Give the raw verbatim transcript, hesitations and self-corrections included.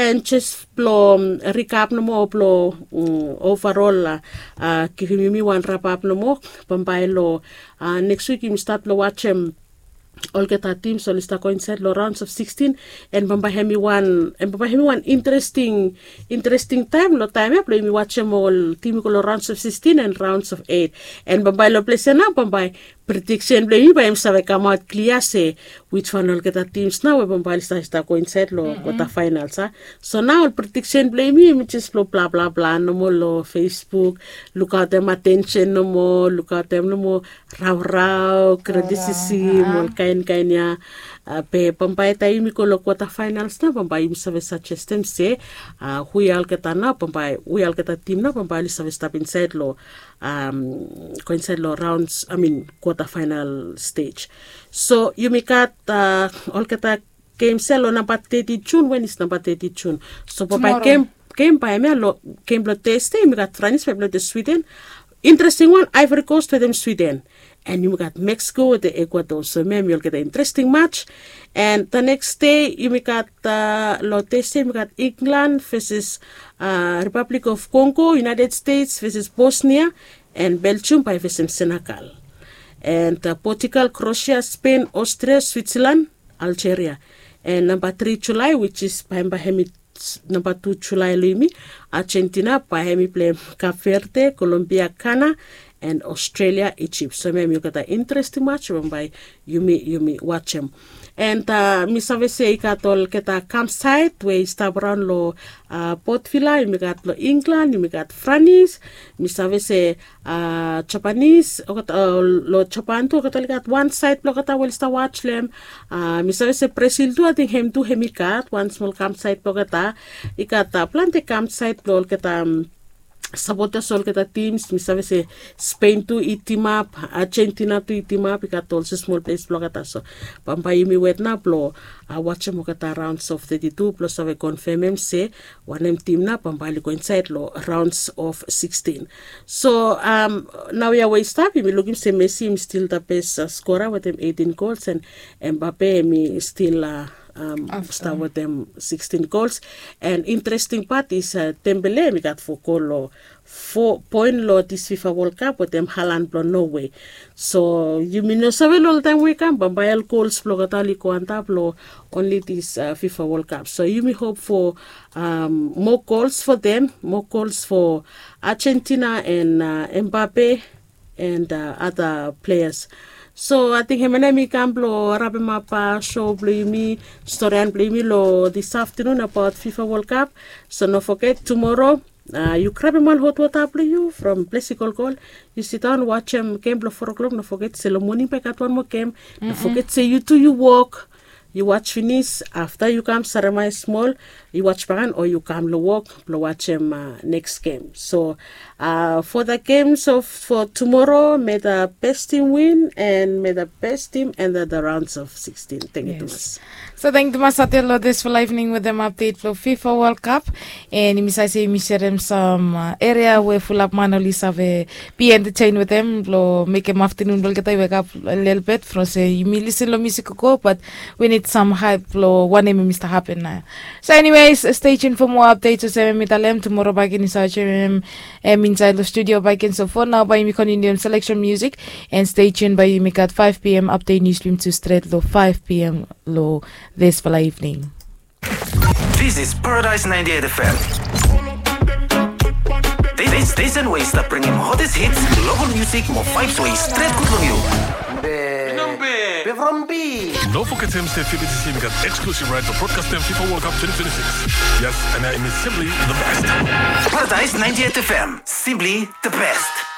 And jes blong rikap nomo blong overol givim yumi wan rapap nomo. Bambae long neks wik yumi stat blong wajem olgeta tims oli stap go insaed long raons of sikstin. And bambae hem i wan interesting taem long taem ya blong yumi wajem ol tim i go long raons of sikstin and raons of eit. And bambae long ples ya nao bambae prediksen blong yumi bae yumi save kamaot klia se wisfan olgeta tims nao we bambae oli save stap go insaed long kwata faenals a. So nao ol prediksen blong yumi yumi jes blong blablabla nomo long fesbuk, lukaotem atensen nomo, lukaotem nomo raorao, kretisisim ol kaenkaen ya. Be bambae taem yumi go long kwata faenals nao bambae yumi save sajestem se hu ya olgeta nao bambae hu ya olgeta tim nao bambae oli save stap insaed long go insaed long raons amin kwata faenal stej. So yumi gat olgeta gems ya long namba teti jun. Wenis namba teti jun? So bambae gem bae hem ya long gem blong tesde yumi gat franis bae blong swiden. Interesting wan, ivory coast wetem swiden. And yumi gat meksiko wetem ekuador. So hem ya hem i olgeta interesting mats. And the neks de yumi gat long tesde yumi gat inglan veses repablik of kongo, united stets veses bosnia. And belgium bae i vesem senegal. And portugal, krosia, spen, austria, switserlan, aljeria. And namba tri julae wis is bae hem bae hem i namba tu julae long yumi, argentina bae hem i pleim kap verde, kolombia, kana, and austrelia, ijip. So hem hem i olgeta interesting mats we bambae yumi yumi wajem. And mi save se i gat olgeta kamsaet we i stap raon long potvila yumi gat long inglan yumi gat franis. Mi save se japanis olgeta long japan tu olgeta oli gat wan saet blong olgeta we oli stap waj long hem. Mi save se brasil tu ating hem tu hem i gat wan smol kamsaet blong olgeta. I gat plante kamsaet blong olgeta sapotas olgeta tims mi save se spen tu i timap, argentina tu i timap i gat olsem smol ples blong olgeta. So bambae yumi wet nao blong wajem olgeta raons of teti tu blong save konfemem se wanem tim nao bambae oli go insaed long raons of sikstin. So naoia we i stap yumi lukim se messi hem i stil the best skora wetem eitin gols and embape hem i stil stap wetem sikstin gols. And interesting pat is dembele hem i gat fo gol long fo poen long dis fifa wol kap wetem halan blong norway. So yumi no save long oltaem we i kam bambae ol gols blong olgeta oli go antap long onli dis fifa wol kap so yumi hop fo moa gols fo dem, moa gols fo argentina and embape and ada pleas. So ating hem ya nao hem i kam blong rapemap sho blong yumi, storian blong yumi long dis aftenun abaot fifa wol kap. So no foget tumoro yu grabem wan hotwota blong yu from ples i kolkol, yu sidaon wajem gem blong fo klok no foget se long moning bae i gat wan moa gem. No foget se yu tu yu wok, yu waj finis afta yu kam saremae smol, yu waj bakan o yu kam long wok blong wajem neks gem. So fo da gems of fo tumoro me da bes tim win and me da bes tim enta da raons of sikstin. Tengkiu tumas. So tengkiu tumas atel long disfala evening wetem apdet blong fifa wol kap. And yumi save se yumi serem sam eria we fulap man oli save bi entetein wetem blong mekem aftenun blong olgeta i wekap lelbet from se yumi lisin long musik gogo bat we nid sam haep blong wanem yumi stap hapen nao. So eniwes, stei tun fo moa apdets olsem em i talem tumoro baken yu save joenem em insaed long studio baken. So fo nao bae yumi kontiniuem seleksen musik. And stei tun bae yumi gat faef pm apdet nius blong yumi tu stret long faef pm long disfala evening. This is Paradise ninety-eight F M. This station we i stap bringim hottest hits, local music mo vibes we i stret gud long yu. Be from B. No forget him say F B T C got exclusive right to broadcast them FIFA World Cup twenty twenty-six. Yes, and I am simply the best. Paradise ninety-eight F M, simply the best.